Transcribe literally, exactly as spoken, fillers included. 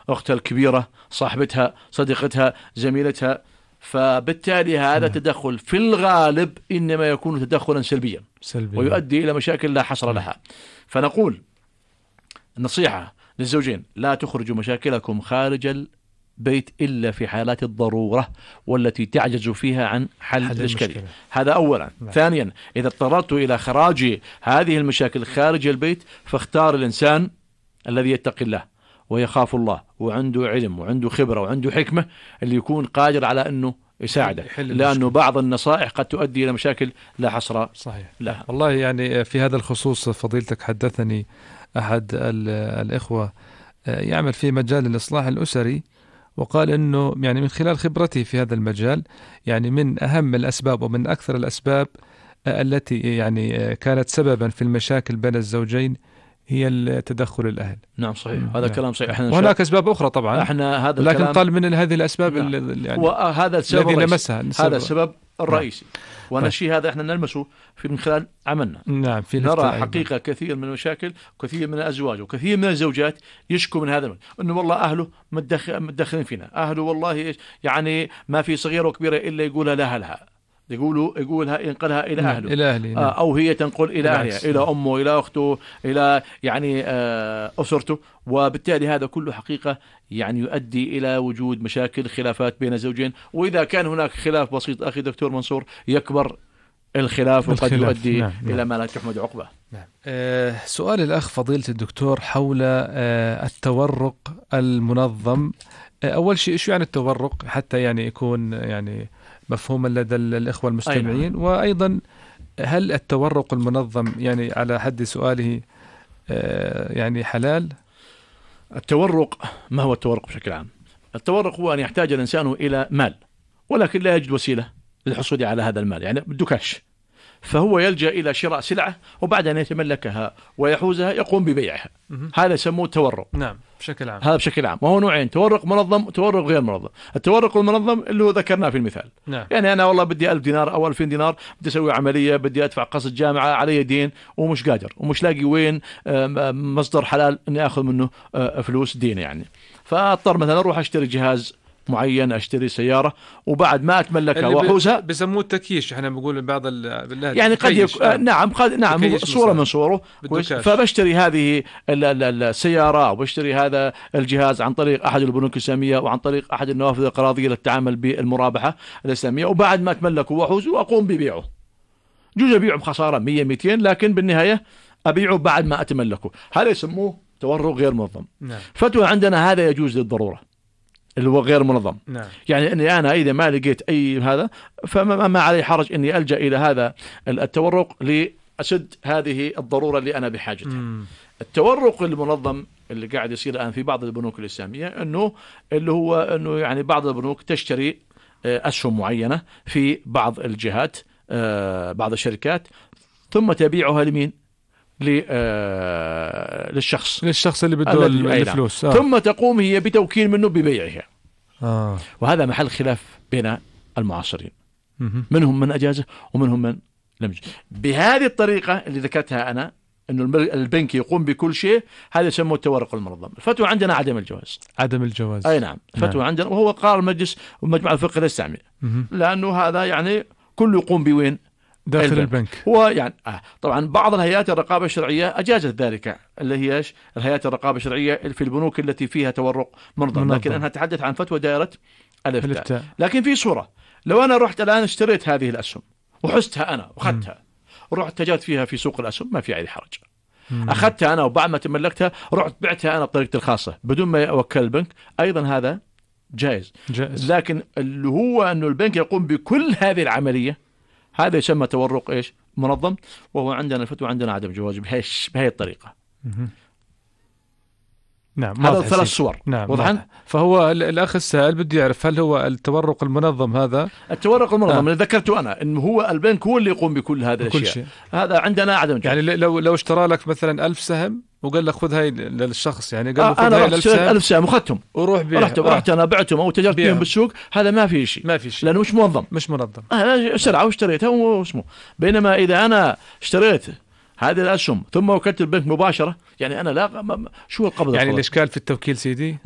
أختها الكبيرة، صاحبتها، صديقتها، زميلتها. فبالتالي هذا تدخل في الغالب إنما يكون تدخلا سلبيا سلبي. ويؤدي إلى مشاكل لا حصر لها. فنقول النصيحة للزوجين: لا تخرجوا مشاكلكم خارج البيت إلا في حالات الضرورة والتي تعجز فيها عن حل, حل الإشكالية. هذا أولا. لا. ثانيا، إذا اضطررت إلى خراج هذه المشاكل خارج البيت فاختار الإنسان الذي يتقي الله ويخاف الله وعنده علم وعنده خبرة وعنده حكمة اللي يكون قادر على أنه يساعده، لأنه بعض النصائح قد تؤدي إلى مشاكل لا حصر صحيح لها. والله يعني في هذا الخصوص فضيلتك حدثني أحد الإخوة يعمل في مجال الإصلاح الأسري، وقال إنه يعني من خلال خبرته في هذا المجال يعني من أهم الأسباب ومن أكثر الأسباب التي يعني كانت سببا في المشاكل بين الزوجين هي التدخل الأهل. نعم صحيح، هذا كلام صحيح. وهناك أسباب أخرى طبعا احنا هذا لكن قال من هذه الأسباب نعم. يعني وهذا السبب الذي لمسها هذا السبب الرئيسي. وانا الشيء هذا احنا نلمسه في من خلال عملنا. نعم في نرى حقيقة كثير من المشاكل، كثير من الأزواج وكثير من الزوجات يشكو من هذا، انه والله أهله متدخلين فينا، أهله والله يعني ما في صغيرة وكبيرة إلا يقولها لها لها يقولوا يقولها ينقلها إلى أهله إلى أهله. آه أو هي تنقل إلى أهلها، إلى أمه، إلى أخته، إلى يعني آه أسرته. وبالتالي هذا كله حقيقة يعني يؤدي إلى وجود مشاكل، خلافات بين الزوجين. وإذا كان هناك خلاف بسيط أخي دكتور منصور يكبر الخلاف وقد يؤدي نعم. إلى نعم. ما لا تحمد عقبه. نعم. آه سؤال الأخ فضيلة الدكتور حول آه التورق المنظم. آه أول شيء إيش يعني التورق حتى يعني يكون يعني مفهوما لدى الإخوة المستمعين؟ أيضا. وأيضا هل التورق المنظم يعني على حد سؤاله آه يعني حلال؟ التورق، ما هو التورق بشكل عام؟ التورق هو أن يحتاج الإنسان إلى مال ولكن لا يجد وسيلة للحصول على هذا المال، يعني بده كاش، فهو يلجأ إلى شراء سلعة وبعد أن يتملكها ويحوزها يقوم ببيعها. هذا يسموه تورق. نعم بشكل عام. هذا بشكل عام، وهو نوعين: تورق منظم وتورق غير منظم. التورق المنظم اللي هو ذكرناه في المثال. نعم. يعني أنا والله بدي ألف دينار أو ألفين دينار، بدي أسوي عملية، بدي أدفع قسط جامعة، علي دين ومش قادر ومش لاقي وين مصدر حلال إني أخذ منه فلوس دين يعني. فأضطر مثلا أروح أشتري جهاز معين، اشتري سياره وبعد ما اتملكها واحوزها. بسموه التكييش، احنا بنقول بعض بالله يعني قد يك... آه نعم قد نعم صوره من صوره. فبشتري هذه السياره او بشتري هذا الجهاز عن طريق احد البنوك الاسلاميه وعن طريق احد النوافذ القراضيه للتعامل بالمرابحه الاسلاميه، وبعد ما اتملكه واحوزه واقوم ببيعه. جوز ابيعه بخساره مية مئتين، لكن بالنهايه ابيعه بعد ما اتملكه. هذا يسموه تورق غير منظم. نعم. فتوى عندنا هذا يجوز للضروره اللي هو غير منظم. نعم. يعني أني أنا إذا ما لقيت أي هذا فما ما علي حرج أني ألجأ إلى هذا التورق لأسد هذه الضرورة اللي أنا بحاجتها. مم. التورق المنظم اللي قاعد يصير الآن في بعض البنوك الإسلامية أنه اللي هو أنه يعني بعض البنوك تشتري أسهم معينة في بعض الجهات، بعض الشركات، ثم تبيعها لمين؟ للشخص للشخص اللي بده الفلوس. آه. ثم تقوم هي بتوكيل منه ببيعها. آه. وهذا محل خلاف بين المعاصرين، م- منهم من أجازه ومنهم من لم يجوز. بهذه الطريقة اللي ذكرتها أنا أنه البنك يقوم بكل شيء، هذا يسموه التورق المنظم. الفتوى عندنا عدم الجواز. عدم الجواز. أي نعم الفتوى نعم. عندنا، وهو قرار المجلس ومجمع الفقه الإسلامي، لأنه هذا يعني كله يقوم بوين؟ داخل البنك. البنك هو يعني آه طبعا بعض الهيئات الرقابة الشرعية أجازت ذلك، اللي هي ايش؟ الهيئات الرقابة الشرعية في البنوك التي فيها تورق منظم, منظم. لكن أنا أتحدث عن فتوى دائرة الإفتاء. لكن في صورة، لو أنا رحت الآن اشتريت هذه الأسهم وحستها أنا وأخذتها ورحت تجارت فيها في سوق الأسهم، ما في أي حرج. مم. أخذتها أنا وبعد ما تملكتها رحت بعتها أنا بطريقتي الخاصة بدون ما أوكل البنك، أيضا هذا جائز. جائز. لكن اللي هو أنه البنك يقوم بكل هذه العملية، هذا يسمى تورق إيش؟ منظم، وهو عندنا الفتوى عندنا عدم جواز بهاش بهاي الطريقة. نعم. هذا ثلاث صور. نعم. واضحا. فهو الأخ السائل بده يعرف هل هو التورق المنظم هذا؟ التورق المنظم اللي آه. ذكرته أنا إنه هو البنك هو اللي يقوم بكل هذه الأشياء. شيء. هذا عندنا عدم جواز. يعني لو لو اشترى لك مثلا ألف سهم وقال لك خذ هاي للشخص، يعني قال له خذ أنا هاي رحت سهم. ألف سهم وخدتهم وروح بيع. رحت آه. رحت أنا بعتهم أو تجرت بيهم بالسوق، هذا ما في شيء. ما في شيء. لأنه مش منظم. مش منظم. أنا سرعة واشتريتها واسمه. بينما إذا أنا اشتريت هذه الأسهم ثم وكلت البنك مباشرة، يعني أنا لا شو القبض؟ يعني الإشكال في التوكيل سيدي؟